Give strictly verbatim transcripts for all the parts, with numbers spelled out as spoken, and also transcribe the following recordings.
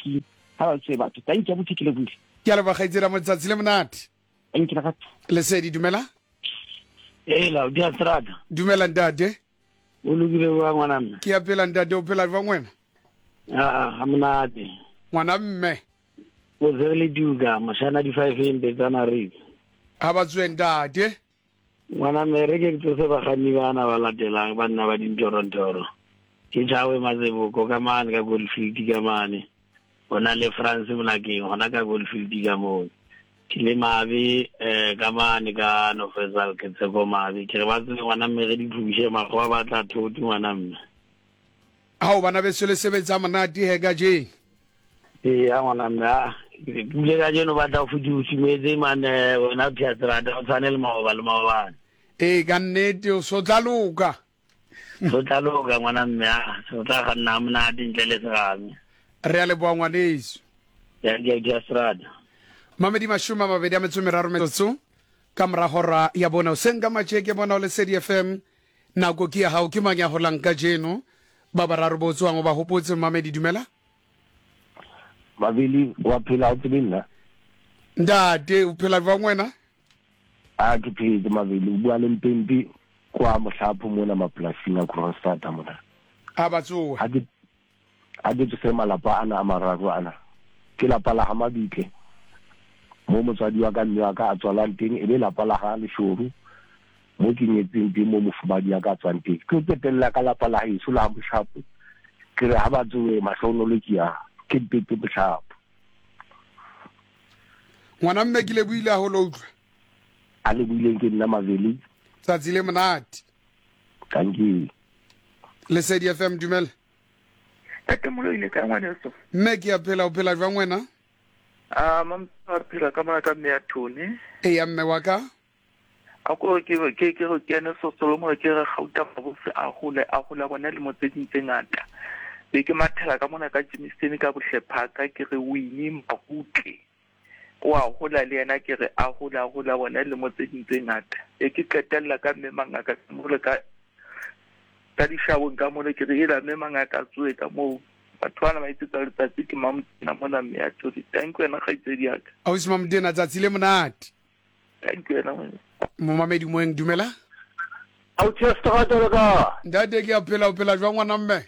ditonki ha ba tswe batho. Thank you abuti, ke lebohile. Ke a leboga kgaitsedi motsatsi le monate. Thank you lerato. Lesedi, dumela. Ela, di a strata. Dumela ntate. O lokile wa ngwana mme? Ke a phela ntate, o phela jwang wena? Ah, ha monate. Ngwana mme. O zele duka, mashana di five empe tsa naredi. Ha ba tswe ntate. Ngwana mme re ke tsose bakganni bana ba latelang ba nna ba dintorontoro. Ke Jawe Matseboko ka mane ka Goldfield ka mane. Ona le France Molakeng hona ka Goldfield ka moo. Ke le Mabe eh ka mane ka Nofesal ke Tseko Mabe. Ke re ba tswe ngwana mme re di phushe makgowa ba tla thoto ngwana mme. Hao bana beso le sebetsa monate he ka jeng. Ee, ya ngwana mme a ke bule ka jeno ba tla go fudusimetse mane wena Piatrata o tshwane le maoba le maobane. Ee, ka nnete o so tla loka. So tla loka ngwana mme a so tla ga nna monate ntle le serame. Re a leboha ngwaneso. Ya ke Piatrata. Mamedi mashome a mabedi a metso e meraro metsotso ka mora hora ya bona. Hoseng ka matjeke bona o Lesedi F M. Nako ke ya hao, ke mang ya holang kajeno? Ba bararo bo tswang o ba hopotse. Mamedi, dumela. Mabili wa phela o tsebe nna. Ntate, o phela jwang wena? A ke phetse Mabili, o bua le Mpempe kwa mohlapho mona mapolasing a Kroonstad mona. A ba tsoha. Ha ke ha ke tsose malapa ana a mararo ana. Ke lapa la ha Mabitle. Mo motswadi wa ka mme wa ka a tswalang teng, e be lapa la ha Leshoru mo ke nyetseng teng, mo mofumadi ya ka tswang teng. Ke qetella ka lapa la heso la Moshapo. Ke re ha ba tsoe mahlonolo ke ya ke Mpempe Moshapo. Ngwana mme ke le buile haholo utlwa. A le buileng ke nna Maveli. Tsatsi le monate. Thank you. Lesedi F M, dumela. Ntate Moloi le kae ngwaneso? Mme ke a phela, o phela jwang wena? Ah, mam a phela ka mona ka mme ya Tony. Eya mme wa ka. A ko ke ke ke re kene sosolo mo ke re gauta mabose a hole a hola bona le motse ding tse ngata. Be ke mathela ka mona ka Jameson ka bohlephaka ke re Winnie Mahutle. O a hola le yena ke re a hola hola bona le motse ding tse ngata. E ke qetella ka mme mangaka mo le ka ka dishabong ka mona ke re ela mme mangaka tsoe ka moo. Batho bana ba itsetsa letsatsi ke mamotena mona mme ya Tony. Thank you wena kgaitsedi ya ka. Ausi Mamodena, tsatsi le monate. Thank you wena ngwana. Momamedi moeng, dumela. Ausi Strata le ka. Ntate ke a phela, o phela jwang ngwana mme?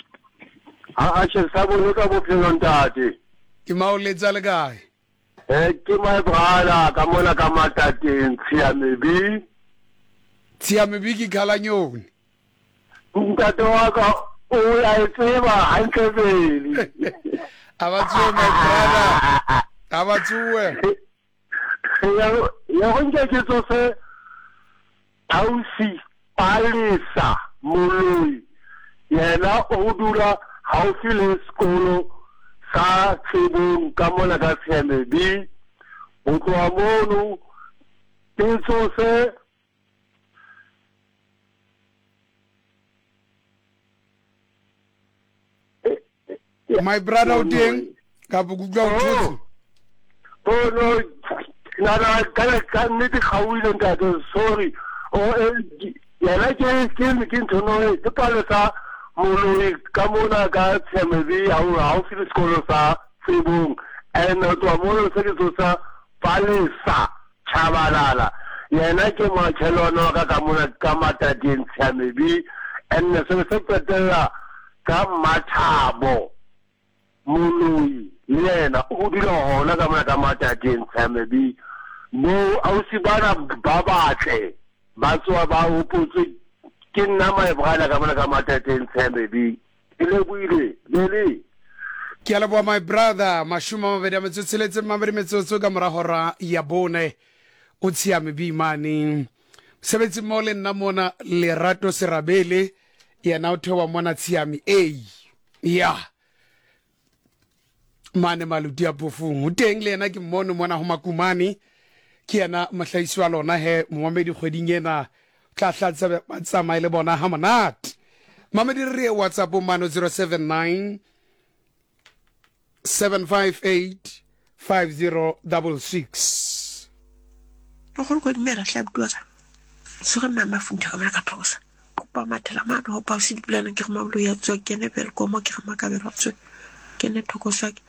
A a che sa bone ka bophelo ntate. Ke maoletsa le kae? Eh ke my brother ka mona ka Matateng Tshiamebi. Tshiamebi ke khalanyone. Ntate wa ka o a e tseba hantle pele. A ba tsoe my brother. A ba tsoe. Ya ya go nke ke tsose ausi Palesa Moloi. Yena o dula haufi le sekolo sa Tsebong ka mona ka Tshiamebi. Ho tloha mono ke tsose My brother o teng ka bo kutlwa o thotse. Oh no, na na ka ka nnete kgaohile ntate, sorry. O yena ke ke ke ntho no ke Palesa Moloi ka mona ka Tshiamebi haufi le sekolo sa Tsebong. And ho tloha mono se ke tsosa Palesa Tshabalala. Yena ke makhelwane wa ka ka mona ka Matateng Tshiamebi. And se se qetella ka Mathabo Moloi le yena o dula hona ka mona ka Matateng Tshiamebi. Mo ausi bana ba batle ba tswa ba hopotse ke nna my brother ka mona ka Matateng Tshiamebi. Ke lebohile bele. Ke a leboha my brother. Mashome a mabedi a metso e tsheletseng mabedi metsotso ka mora hora ya bone. O Tshiamebi mane. Mosebetsi mmoho le nna mona Lerato Serabele yena o theoha mona Tshiami A. Ya. Mane Maluti a Phofung. O teng le yena ke mmono mona ho Makumane. Ke yena mohlahisi wa lona he momamedi kgweding ena. Tla hlatsa ba tsamaye le bona ha monate. Mamedi re ye WhatsApp mano zero seven nine seven five eight five zero double six. Mogolo ko dumela hle abuti wa ka. Tsoge mme a mafuntha ka mona ka thokosa. Kopa mathela mane ho pausi dipulaneng ke re mabolo ya tswa kene Belkomo ke re makabelo a tswe. Kene thokosa ke.